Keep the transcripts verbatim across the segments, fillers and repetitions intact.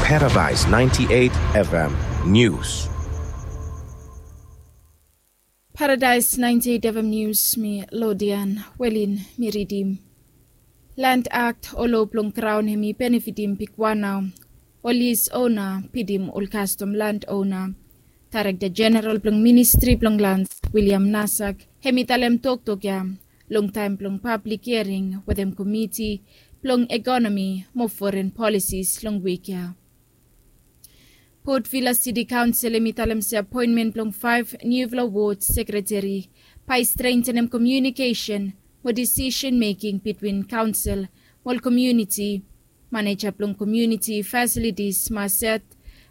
Paradise ninety-eight F M News. Paradise ninety-eight F M News, mi Lodian Welin mi ridim. Land Act o lo blong graon hem i benefitim bigwan nao. Ol is ona pidim ol kastom land ona. Daerekta Jeneral blong Ministri blong Lans, William Nasak, hem i talem toktok ya long taem blong pablik hiaring wetem komiti blong ekonomi mo foren polisis long wik ya. Port Vila City Kaonsel hem i talem se apoenmen blong faef niufala wod sekreteri bae i strentenem komiunikesen mo disisen meking bitwin kaonsel mo ol komiuniti. Maneja blong komiuniti fasilitis Maset,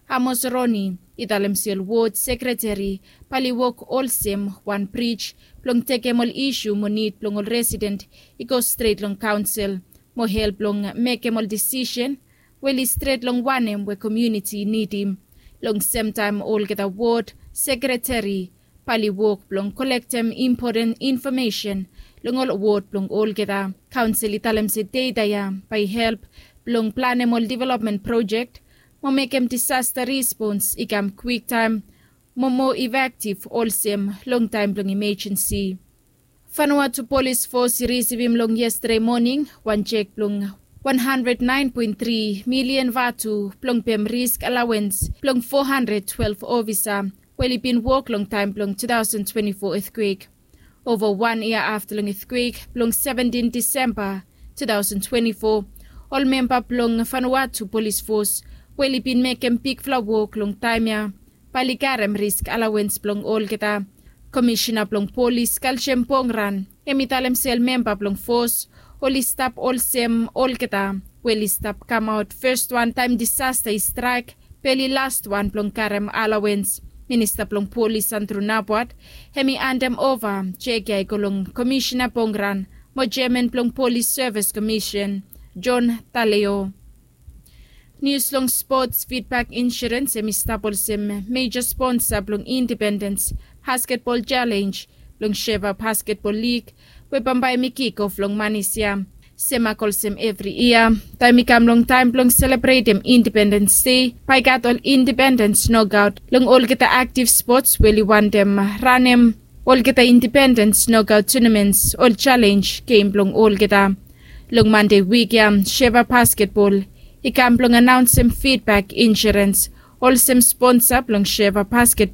Amos Roni, i talem se ol wod sekreteri bae oli wok olsem wan brij blong tekem ol isu mo nid blong ol residen i go stret long kaonsel mo help long mekem ol disisen we oli stret long wanem we komiuniti i nidim. Long semtaem olgeta wod sekreteri bae oli wok blong kolektem impoten infomesen long ol wod blong olgeta. Kaonsel i talem se deta ya bae i help blong planem ol developmen projek mo mekem disasta respons i kam kwiktaem mo moa efektiv olsem long taem blong imejensi. Vanuatu Polis Fos i risivim long yestade moning wan jek blong wan handred naen poen tri milian vatu blong pem risk alawens blong fo handred twelef ofisa we oli bin wok long taem blong tu taosen twenti fo etkwek. Ova wan yia afta long etkwek blong seventin Disemba tu taosen twenti fo, ol memba blong Vanuatu Polis Fos we oli bin mekem bigfala wok long taem ya bae oli karem risk alawens blong olgeta. Komisena blong Polis Kaljem Pongran hem i talem se ol memba blong fos oli stap olsem olgeta we oli stap kamaot fes wan taem disasta i straek bae oli las wan blong karem alawens. Minista blong Polis Andru Napuat hem i andem ova jek ya i go long Komisena Pongran mo jeaman blong Polis Sevis Komisen, Jon Taleo. Nius long spots, Fitbak Insurens hem i stap olsem meja sponsa blong Indipendens Basketbol Jalenj blong Sheva Basketbol Lig we bambae hem i kik of long Manis ya. Semak olsem evri yia taem i kam long taem blong selebretem Indipendens Dei bae i gat ol Indipendens nokaot long olgeta aktiv spots we oli wantem ranem olgeta Indipendens nokaot tunaments, ol jalenj gem blong olgeta. Long Mande wik ya Sheva Basketbol i kam blong anaonsem Fitbak Insurens olsem sponsa blong Sheva Basket